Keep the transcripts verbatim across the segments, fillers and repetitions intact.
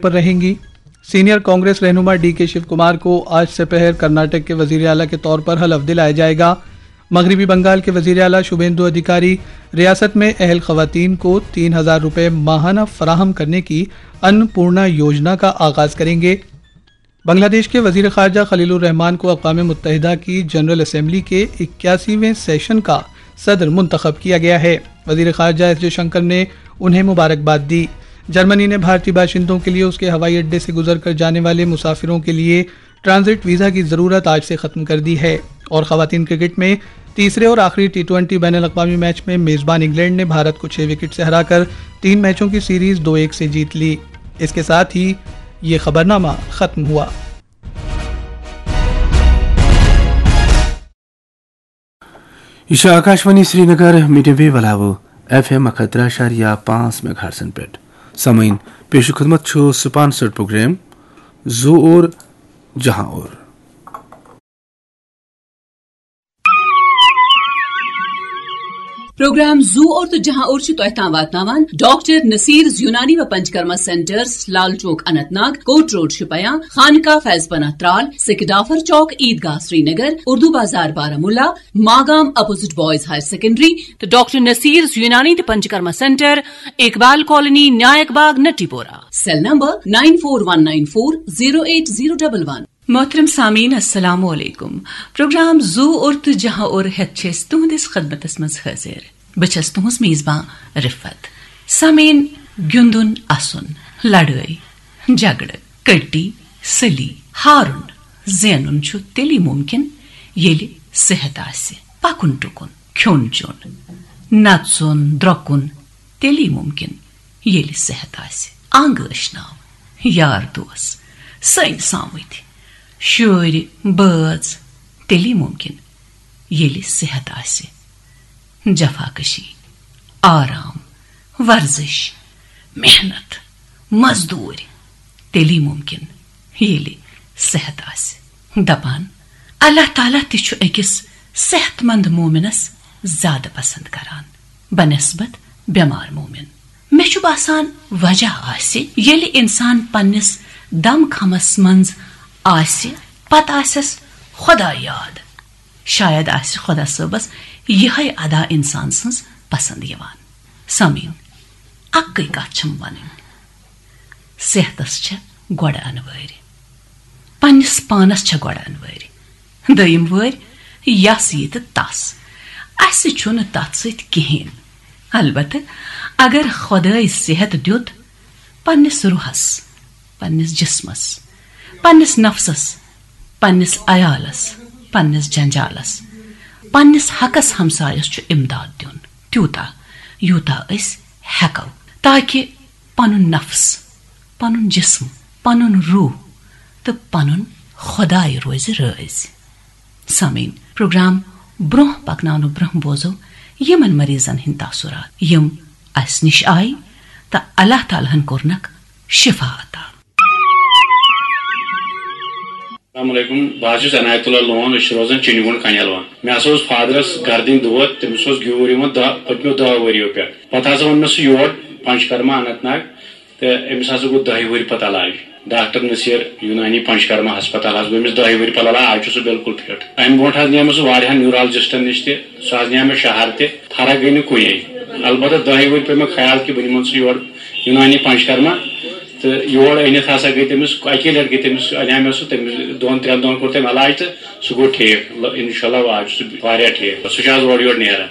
پر رہیں گی۔ سینئر کانگریس رہنما ڈی کے شیو کمار کو آج سپہر کرناٹک کے وزیر اعلیٰ کے طور پر حلف دلایا جائے گا۔ مغربی بنگال کے وزیر اعلیٰ شوبیندو ادھیکاری ریاست میں اہل خواتین کو تین ہزار روپے ماہانہ فراہم کرنے کی ان پورنا یوجنا کا آغاز کریں گے۔ بنگلہ دیش کے وزیر خارجہ خلیل الرحمان کو اقوام متحدہ کی جنرل اسمبلی کے اکیاسیویں سیشن کا صدر منتخب کیا گیا ہے۔ وزیر خارجہ ایس جے شنکر نے انہیں مبارکباد دی۔ جرمنی نے بھارتی باشندوں کے لیے اس کے ہوائی اڈے سے گزر کر جانے والے مسافروں کے لیے ٹرانزٹ ویزا کی ضرورت آج سے ختم کر دی ہے۔ اور خواتین کرکٹ میں تیسرے اور آخری ٹی ٹوئنٹی بین الاقوامی میچ میں میزبان انگلینڈ نے بھارت کو چھ وکٹ سے ہرا کر تین میچوں کی سیریز دو ایک سے جیت لی۔ اس کے ساتھ ہی یہ خبرنامہ ختم ہوا۔ یہ چھِ آکاشوانی سرینگر میڈیم ویو علاوٕ ایف ایم اکھ ہتھ ترٛےٚ اَشاریہ پانٛژھ میگا ہرٹزن پٮ۪ٹھ۔ سامعیٖن، پیش خدمت چھُ سپانسرڈ پروگرام زو اور جہاں اور۔ پروگرام زو اور تو جہاں اور چھُ تۄہہِ تام واتناوان ڈاکٹر نصیر یونانی و پنچکرما سینٹرز، لال چوک اننت ناگ، کوٹ روڈ شپیاں، خانقاہ فیض پناہ Tral, Sekidafar chowk, Eidgah Srinagar, Urdu bazaar Baramulla, Magam opposite boys higher secondary, تو ڈاکٹر نصیر یونانی تو Panchakarma centre, Iqbal colony, Naik Bagh, Natipora. Cell number nine four one nine four zero eight zero double one. محترم سامعین، السلام علیکم۔ پروگرام زو اور تو جہاں اور ہیتھ چھِ أسۍ تُہنٛدِس خدمتس منٛز حٲضِر۔ بہٕ چھَس تُہنٛز میزبان رفت۔ سامعین، گِنٛدُن، اَسُن، لڑٲے، جھگڑٕ، کٔٹی، سٔلی، ہارُن، زینُن چھُ تیٚلی مُمکِن، ییٚلہِ صحت آسہِ۔ پکُن ٹُکُن، کھیوٚن چیوٚن، نژُن، درۄکُن تیٚلی مُمکِن، ییٚلہِ صحت آسہِ۔ انگ ٲشناو، یار دوس، سٔنۍ سامٕتۍ، شُرۍ، بٲژ تیٚلی مُمکِن، ییٚلہِ صحت آسہِ۔ جفاکشی، آرام، ورزش، محنت، مزدوٗرۍ تیٚلی مُمکِن، ییٚلہِ صحت آسہِ۔ دپان، اللہ تعالیٰ تہِ چھُ أکِس صحت مند مومنس زیادٕ پسند کران بنسبت بٮ۪مار مومن۔ مےٚ چھُ باسان، وجہ آسہِ، ییٚلہِ انسان پننِس دم خمس منٛز آسہِ، پتہٕ آسٮ۪س خۄدا یاد۔ شاید آسہِ خۄدا صٲبس یِہے ادا انسان سٕنٛز پسند یِوان۔ سامعین، اکٕے کتھ چھم ونٕنۍ، صحتس چھےٚ گۄڈٕ انوٲرۍ، پننِس پانس چھےٚ گۄڈٕ انوٲرۍ، دوٚیِم وٲرۍ یس یہِ تہٕ تس۔ اسہِ چھُنہٕ تتھ سۭتۍ کِہیٖنۍ۔ البتہٕ اگر خۄدٲے صحت دیُت، پننِس روحس، پننِس جسمس، پننِس نفسس، پننِس عیالس، پننِس جنجالس، پننِس حقس ہمسایس چھُ امداد دیُن، تیوٗتاہ یوٗتاہ أسۍ ہٮ۪کو، تاکہِ پنُن نفس، پنُن جسم، پنُن روح تہٕ پنُن خۄداے روزِ رٲضۍ۔ سامعین، پروگرام برونٛہہ پکناونہٕ برونٛہہ بوزو یِمن مریضن ہٕنٛدۍ تاثرات، یِم اسہِ نِش آیہِ تہٕ اللہ تعالیٰ ہن کوٚرنکھ شفا عطا۔ السلام علیکم، بہٕ حظ چھُس عنایت اللہ لون، أسۍ چھِ روزان چِنہِ گُنٛڈ کنیلوان۔ مےٚ ہسا اوس فادرس گردٕنۍ دود، تٔمِس اوس گیوٗر یِوان دہ، پٔتمیو دہ ؤرِیو پٮ۪ٹھ۔ پتہٕ ہسا اوٚن مےٚ سُہ یور پنچکرما اننت ناگ، تہٕ أمِس ہسا گوٚو دَہہِ ؤہرِ پتہٕ علاج۔ ڈاکٹر نصیر یونانی پنچکرما ہسپتال حظ گوٚو أمِس دَہہِ ؤہرِ پتہٕ علاج، آز چھُ سُہ بالکل فٹ۔ امہِ برونٛٹھ حظ نِیے مےٚ سُہ واریاہن نیورالجسٹن نِش تہِ، سُہ حظ نِیے مےٚ شہر تہِ، فرق گٔے نہٕ کُنے۔ البتہ دَہہِ ؤہرِ پیٚو مےٚ خیال کہِ بہٕ نِمن سُہ یور یونانی پنچکرما، تہٕ یور أنِتھ ہسا گٔے تٔمِس، اَکی لٹہِ گٔے تٔمِس، اَنیٛاو مےٚ سُہ، تٔمِس دۄن ترٛٮ۪ن دۄہن کوٚر تٔمۍ علاج تہٕ سُہ گوٚو ٹھیٖک۔ ل-، انشاءاللہ آز چھُ سُہ واریاہ ٹھیٖک۔ سُہ چھُ آز اورٕ یورٕ نیران۔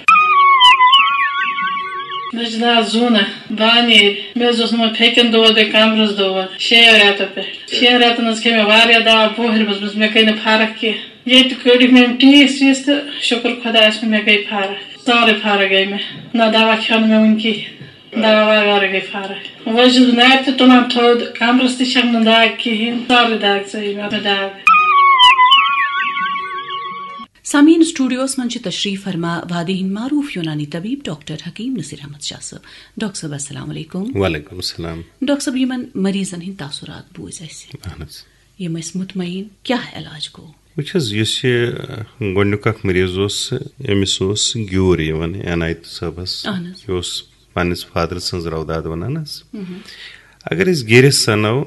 مےٚ چھُ ناو زوٗنہ بانیٖر۔ مےٚ حظ اوس یِمن پھیٚکٮ۪ن دود، بیٚیہِ کمرس دود شیٚیو رٮ۪تو پٮ۪ٹھ۔ شیٚن رٮ۪تن حظ کھیٚیہِ مےٚ واریاہ دوا بۄہرِ منٛز، منٛز مےٚ گٔے نہٕ فرق کینٛہہ۔ ییٚتہِ کٔڑِکھ مےٚ یِم ٹیٖس ویٖس تہٕ شُکر خۄدایس کُن، مےٚ گٔے فرق۔ سٲرٕے فرق گٔے مےٚ۔ نہ دوا کھیوٚو نہٕ مےٚ وُنہِ کِہیٖنۍ۔ دوا وغٲرٕے گٔے فرق۔ وۄنۍ چھُس بہٕ نَرِ تہِ تُلان تھوٚد، کمرس تہِ چھَم نہٕ دگ کِہیٖنۍ، سٲرٕے دگ ژٔج مےٚ، مےٚ دگ۔ سامعین، سٹوڈیوس منٛز چھِ تشریف فرما وادی ہٕنٛدۍ معروف یونانی طبیب ڈاکٹر حکیم نصیر احمد شاہ صٲب۔ ڈاکٹر صٲب، السلام علیکم۔ وعلیکم السلام۔ ڈاکٹر صٲب، یِمن مریضن ہٕنٛدۍ تاثرات بوٗزۍ اَسہِ۔ اہن حظ۔ یِم ٲسۍ مطمئن، کیٛاہ علاج گوٚو؟ وٕچھ حظ، یُس یہِ، اہ، گۄڈٕنیُک اکھ مریض اوس، أمِس اوس گیوٗر یِوان عنایت صٲبس۔ اہن حظ۔ یہِ اوس پننِس فادر سٕنٛز روداد ونان حظ۔ اگر أسۍ گیٖرِتھ سنو،